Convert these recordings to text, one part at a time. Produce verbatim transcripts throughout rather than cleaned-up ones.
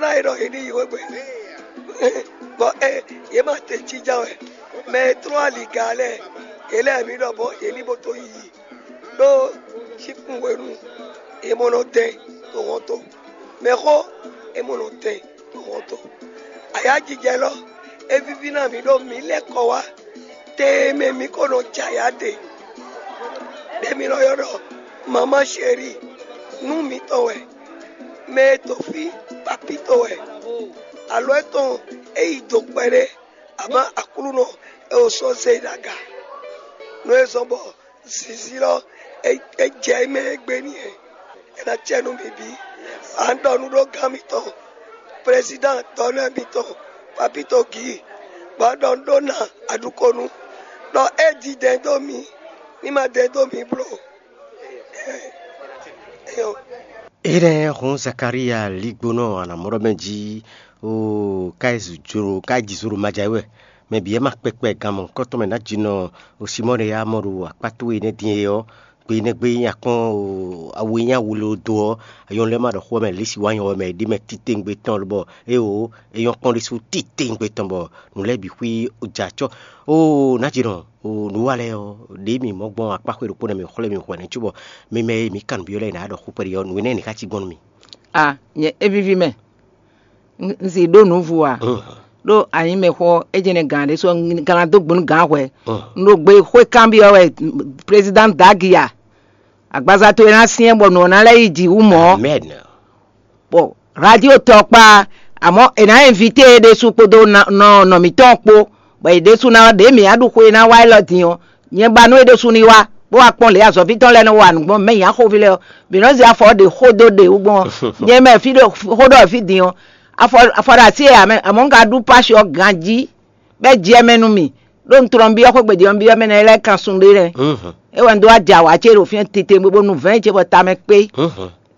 Ná e ɖɔ yě ní yi xwé gbe. Bɔ ɛ yě ma te jínjɔ́n wɛ. Mɛ e tlɔ́n aliga lɛ́ɛ, yě lɛ́ɛ mi ɖɔ bɔ yě ní bo tó yi. Ɖó síkún hwenu è mɔ nɔ dɛn ɖo hɔnto. Mɛxó è mɔ nɔ dɛn ɖo hɔnto. Ayǎjijɛ lɔ é víví ná mǐ ɖó mǐ lɛ́ kɔ wá. Te e mɛ mǐ ko nɔ jɛ ayǎ ɖe, ɖě mǐ nɔ ylɔ́ ɖɔ mamá chéri, nú mǐtɔn wɛ, mɛ e to fí papí tɔn wɛ, alɔ étɔn é yi do kpɛɖé, amɔ̌ Aklúnɔ é o sɔ́ zé e ɖo aga. Nú é zɔ́n bɔ zǐnzín lɔ é jɛ mɛ e gbe n'i é. É ná cɛ nú mǐ bǐ. A nɔ ɖɔ nú ɖó gán mitɔn, prezidán dɔ̌nɛ́ mitɔn, Papito Gǐ, bɔ a ɖɔ nú ɖó ná aɖukonu, ɖɔ é ji dɛ̌n dó mì, ní ma dɛ̌n dó mǐ bló. Énɛ́ hɔn Zakalía ligbónɔ anamɔɖɔmɛ jí, oo, ká yi zǒ ká yi ji zǒ ɖo maja wɛ. Mɛ bǐ wɛ ma kpɛkpɛ gan mɔ̌hunkɔtɔn mɛ ná jinɔ Simɔ́ɔ ɖe yá mɔ ɖo akpá towe énɛ́ din é ɔ́, gbe énɛ́ gbe nyí akɔ́n awu e nyí awu ló dó ɔ́, ayɔ́n lɛ́ɛ ma ɖɔ xó ɔ́ mɛ lě si wá nyɔ ɔ́ mɛ é ɖi mɛ titewungbe tɔn lobɔ éeǒ, é nyɔ́ kpɔ́n ɖésú titewungbe tɔn bɔ nǔ lɛ́ɛ bǐ xwí jɛ acɔ́. Oo, nǎjinɔ, oo, nǔ wa lɛ́ɛ ɔ́, ɖě mǐ mɔ gbɔn akpá xwé ɖokpó nɛ́ mǐ xwlɛ́ mì hwɛ̌ cóbɔ mi mɛ e mǐ kan nǔ byɔ́ lɛ́ɛ è nǎ ɖɔ xó kpɛɖé ɔ́, nǔ énɛ́ ní ká cí gbɔn nú mì. A, nyɛ é víví mɛ. Un si ɖó nǔ vo ǎ. Ɖó anyǐmɛxɔ é jɛ́n nɛ́ gǎn ɖésú ɔ́, un gán ná dó gbe nú gǎn hwɛ̌. Un ɖo gbe xwé kanbyɔ́ wɛ, prezidán Dagi a, agbaza towe ná syɛ́n bɔ nǔ ɔ́ ná lɛ́ yi jǐ wú mɔ̌. Bɔ radio tɔkpá, amɔ̌ è nǎ invité e ɖésú kpódó nɔ nɔ mǐtɔn kpó, bɔ è ɖésú ná ɖě mǐ á ɖu xwe e ná wá élɔ́ din ɔ́, nyɛ ba nú é ɖésú ní wá, bó wá kpɔ́n lě azɔ̌ví tɔn lɛ́ɛ nɔ wa nǔ gbɔn mɛ nyi axoví lɛ́ɛ ɔ́, mǐ nɔ zé afɔ ɔ́ ɖě xó dó ɖě wú gbɔn ɔ́. Nyɛ mɛ fí ɖo xó ɖɔ fí din ɔ́, afɔ afɔ ɖo así e amɛ amɔ̌ un ka ɖú pási ɔ́ ganjí, bɔ é jɛ mɛ nú mì, ɖó un tlɔ́n byɔ́ xwé gbe din ɔ́, byɔ́ mɛ nɛ́ lɛ́ɛ kan sun ɖé nɛ́. É wɛ un dó wá jɛ awǎ ce ɖo fínɛ́ tete bó nú vɛ̌ɛn ce bɔ tamɛ kpé.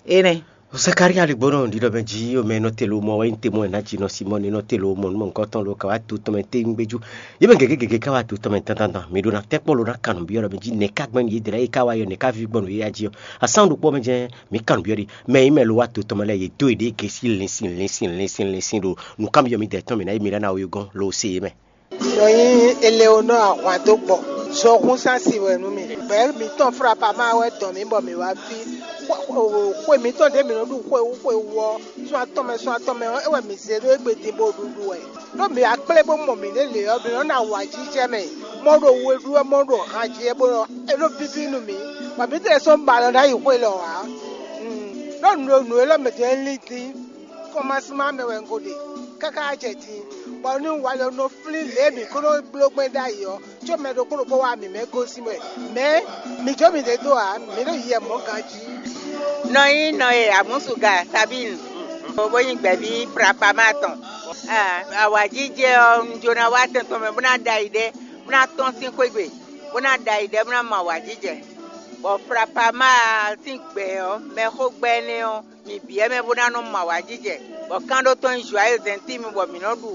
Énɛ́. Zakaria ligbɔnɔ ɖiɖɔ mɛ jí omɛ nɔ te lo mɔ wɛ te mɔ ná jí nɔ Simɔni nɔ te lo mɔ nú mɔnkɔtɔn lo ka wá to tɔmɛ te ŋgbéjú. Yé mɛ gěgé gěgé ka wá to tɔmɛ dandan dan mi ɖo na tɛkpɔ lo na kanu biɔ ɖɔ mɛ jí nɛ ka gbɛn yé dɛlɛ yé ka wá yɔ nɛ ka vi gbɔn yé ya jí ɔ. Asan ɖokpɔ mɛ jɛ mi kanu biɔ ɖi mɛ yi mɛ lo wá to tɔmɛ lɛ yé do yé ɖe gesi linsin linsin linsin linsin ɖo nukamiɔ mi dɛ tɔn mi na yi mi lɛ na wo yogɔn lo se yé mɛ. Nɔ nyi Eleonɔ ahwan dó gbɔ. Zɔhúnsán si wɛ nú mi. Gbɛ̌ mǐtɔn Flapama wɛ dɔn mǐ bɔ mǐ wá fí. Xwe mǐtɔn ɖě mǐ nɔ ɖu xwe wú xwe wú ɔ́, sɔ́ atɔn mɛ sɔ́ atɔn mɛ ɔ́, é wɛ mǐ zé ɖó égbé din bó ɖuɖu wɛ. Ɖó mǐ wá kplé bó mɔ mǐ ɖě lě ɔ́, mǐ nɔ ná awǎjijɛ mɛ, mɔ ɖo we ɖú wɛ, mɔ ɖo han jí wɛ, bó nɔ é nɔ víví nú mǐ, bɔ mǐ tlɛ sɔ́ ba lɔ ná yi xwe lɔ ǎ. Ɖó nǔ e nǔ élɔ́ mɛ din é lín dín. Kɔmasúmá mɛ wɛ un ko ɖe káká jɛ din, bɔ ní un wa lɔ nɔ flín lě e mǐ ko nɔ bló gbɛn ɖ'ayǐ ɔ́, có mɛ ɖokpó ɖokpó wá mǐ mɛ gosín wɛ. Mɛ̌? Mǐ jó mǐɖée dó ǎ, mǐ ɖo yiyɛ mɔ̌ ganjí. Nɔ nyí nɔ e Amusuga Sabine, bó nyí gbɛ̌ví Flapama tɔn. Awǎjijɛ ɔ́, un jló ná wá tɛn tɔn mɛ bó ná ɖa yi ɖɛ, bó ná tɔ́n sín xwé gbe, bó ná ɖa yi ɖɛ, bó ná mɔ awǎjijɛ. Bɔ Flapama sín gbɛ̌ ɔ́, mɛxó gbɛ́ énɛ́ ɔ́, mi bǐ wɛ mɛ bó ná nɔ mɔ awǎjijɛ, bɔ kán ɖó tɔn nyí Joyeux Intime bɔ mǐ nɔ ɖu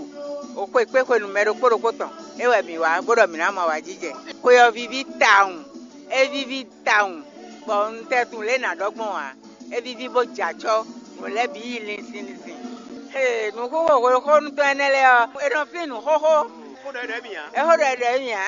xwe kpé xwenu mɛ ɖokpó ɖokpó tɔn. É wɛ mǐ wá bó ɖɔ mǐ ná mɔ awǎjijɛ. Xwe ɔ́ víví tawun, é víví tawun, bɔ un tɛ tunwun lě e nǎ ɖɔ gbɔn ǎ. É víví bó jɛ acɔ́, nǔ lɛ́ɛ bǐ yi linsin linsin. Ee, nǔxoxo hwexónú tɔn énɛ́ lɛ́ɛ ɔ́, è nɔ flín nǔ xóxó. É xó ɖɔ ɖɔ mì ǎ.